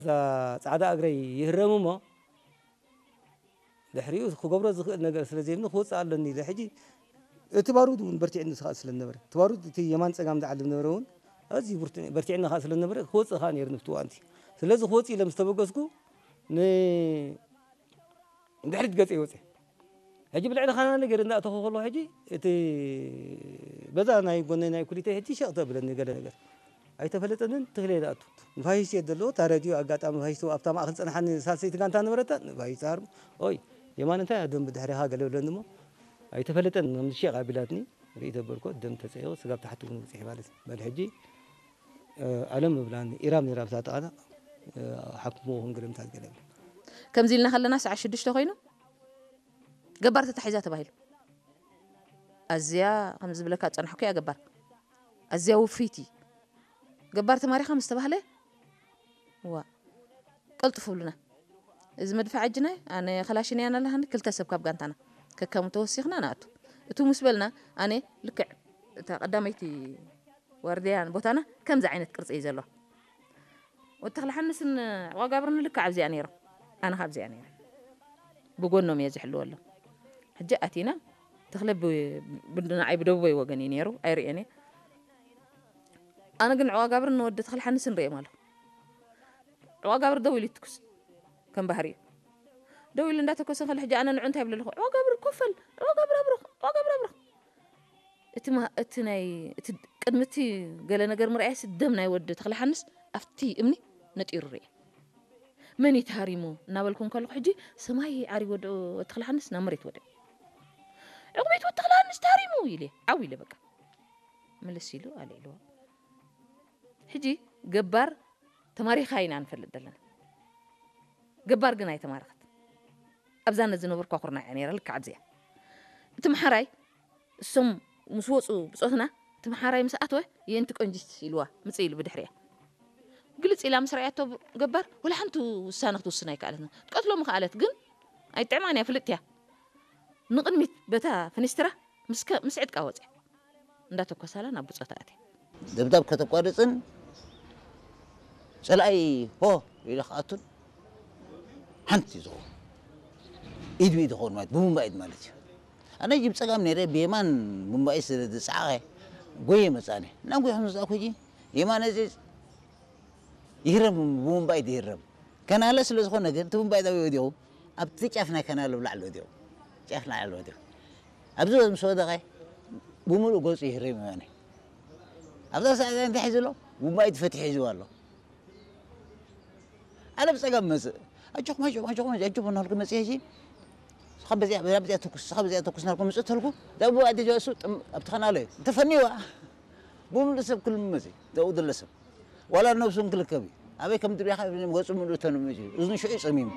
እዛ ጻዕዳ እግረይ ይህረም እሞ ድሕሪኡ ክገብሮ ዝኽእል ነገር ስለ ዘይብኒ ክወፅእ ኣለኒ ኢለ። ሕጂ እቲ ባሩድ እውን በርቲዕኒ ዝኸኣል ስለ ዝነበረ፣ እቲ ባሩድ እቲ የማን ጸጋም ዝዓልብ ነበረ እውን ኣዝዩ ብርቱ-፣ በርቲዕኒ ከኣ ስለ ዝነበረ ክወፅእ ከኣ ነይሩ ንፍቲ እዋንቲ። ስለዚ ክወፅእ ኢለ ምስ ተበገስኩ ን-፣ ንድሕሪት ገጸ ይወፅእ። ሕጂ ብልዕሊ ካና ነገር እንዳእተኹ ከለኹ ሕጂ እቲ በዛ ናይ ጎነይ ናይ ኩሊተይ ሕጂ ሸቕ ተብለኒ ገለ ነገር። ኣይተፈለጠንን፣ ትኽለ ኢለ ኣቱ። ንፋይስ እየ ዘለዎ፣ እታ ረድዮ ኣጋጣሚ ንፋይስ ኣብታ ማእከል ጸንሓኒ ሳልሰይቲ ጋንታ ነበረታ፣ ንፋይስ ተሃርሙ። ኦይ፣ የማን እንታይ እያ ደም ብድሕሪኻ ገለ ብለኒ እሞ፣ ኣይተፈለጠን፣ ከም ሸቕ ኣቢላትኒ፣ ርኢ ተበልኮ፣ ደም ተጸይቑ፣ ስጋብ ታሕቲ እውን ውጽሕ ማለት እዩ። በል ሕጂ፣ እ፣ ኣለም ብላኒ፣ ኢራም ነይራ ብታ ጠቓና፣ እ፣ ሓክምዎ ክን ገለ ምታት ገለ ብላ። ከምዚ ኢልና ከለና ሰዓት ሽዱሽተ ኮይኑ፣ ገባር ተታሒዛ ተባሂሉ። ኣዝያ ከም ዝብለካ ዝጸናሕኩ እያ ገባር። ኣዝያ ውፍይቲ። ገባር ተማሪኻ ምስ ተባህለ፣ ዋ፣ ቀልጥፉ ብሉና። እዚ መድፍዕ ኣጅናይ፣ ኣነ ከላሽን እያ ናላሃኒ፣ ክልተ ሰብ ካብ ጋንታና። ከከም ተወሲኽና ንኣቱ። እቱ ምስ በልና፣ ኣነ ልክዕ እታ ቀዳመይቲ ዋርድያን ቦታና ከምዚ ዓይነት ቅርጺ እዩ ዘለዎ። ወዲ ተኽለ ሓንስን ዋጋብርን ልክዕ ኣብዚኣ ነይሮም። ኣነ ካብዚኣ ነይረ። ብጎኖም እየ ዝሕልወሎም። ሕጂ ኣቲና፣ ተኽለ ብ-፣ ብ-፣ ንዓይ ብደቡበይ ወገን እዩ ነይሩ፣ ኣይርእዮን እየ። ኣነ ግን ዕዋጋብርን ንወዲ ተኽለ ሓንስን ርእዮም ኣለኹ። ዕዋጋብር ደው ኢሉ ይትኩስ፣ ከም ባህሪኡ። ደው ኢሉ እንዳተኮሰ ከሎ፣ ሕጂ ኣነ ንዑ እንታይ ይብል ኣለኹ? ዕዋጋብር ኮፈል፣ ዕዋጋብር ኣብርኽ፣ ዕዋጋብር ኣብርኽ። እቲ ማ-፣ እቲ ናይ፣ እቲ ቅድሚ እቲ ገለ ነገር ምርኣየሲ ደም ናይ ወዲ ተኽለ ሓንስ ኣብቲ እምኒ ነጢሩ ርእየ። መን እዩ ተሃሪሙ እናበልኩ እንከለኹ፣ ሕጂ ሰማይ ዓሪቡ ወዲ ተኽለ ሓንስ ናብ መሬት ወዲቑ። "ዕቑቤት ወዲ ተኽለ ሓንስ ተሃሪሙ!" ኢለ፣ ዓው ኢለ በቃ። ምልስ ኢሉ ኣልዒልዎ። ሕጂ ገባር ተማሪኻ ኢና ንፈልጥ ዘለና። ገባር ግን ኣይተማረኸት። ኣብዛ ነዚ ነበርኳ ኩርናዕ እያ ነይራ፣ ልክዕ ኣብዚኣ። እቲ መሓራይ፣ እሶም ምስ ወፁ ብጾትና፣ እቲ መሓራይ ምስ ኣተወ፣ "የንቲ ቆንጂት" ኢልዋ፣ ምጽእ ኢሉ ብድሕሪኣ። ግልጽ ኢላ ምስ ረኣያቶ ገባር፣ ወላ ሓንቲ ውሳነ ክትውስን ኣይከኣለትን። ክትቀትሎ ምኸኣለት፣ ግን ኣይጥዕማን እያ፣ ፍልጥቲ እያ። ንቕድሚት በታ ፍኒስትራ ምስ ከ-፣ ምስ ዕጥቃ ወጽያ። እንዳተኮሳላ ናብ ብጾታ ኣትያ። ደብዳብ ከተቋርጽን ጸላኢ ሆ ኢለ ክኣቱን ሓንቲ ዝኸውን ኢድ ብኢድ ዝኸውን ማለት ብቡምባ ኢድ ማለት እዩ። ኣነ ጅብ ጸጋም ነይረ ብየማን ቡምባ ኢድ ስለ ዝጸዓቐ ጎየ መጻኒ። እናጎየ ከም ዝመጻእኩ ሕጂ የማነ እዚ ይህረም ብቡምባ ኢድ ይህረም። ከናለ ስለ ዝኾነ ግን እቲ ቡምባ ኢድ ኣበይ ወዲቑ? ኣብቲ ጫፍ ናይ ከናለ ብላዕሊ ወዲቑ። ጫፍ ላዕሊ ወዲቑ። ኣብዚ ምስ ወደቐ ብምሉእ ገጹ ይህረም የማነ። ኣብዛ ሰዓት እንታይ ሒዙ ኣሎ? ቡምባ ኢድ ፈትሒ ሒዝዋ ኣሎ። ኣነ ብጸጋም መጽእ። ኣጆኹም፣ ኣጆኹም፣ ኣጆኹም፣ ኣጆኹም እናበልኩ መጽእ ሕጂ። ንስኻ በዚኣ፣ በዚኣ ተኩስ፣ ንስኻ በዚኣ ተኩስ እናበልኩ ምጽእ ተልኩ። እዛ ቡምባ ኢድ ሒዝዋ እሱ ጥም-፣ ኣብቲ ከናለ ተፈንይዋ። ብምሉእ ሰብ ክልምመጽ እዩ። ኣብኡ ዘሎ ሰብ። ዋላ ነብሱ እንክልከብ እዩ። ኣበይ ከም ድሪኻ ገጹ ምሉእ ተንምጽ እዩ። እዝኑ ሽዑ ጸሚሙ።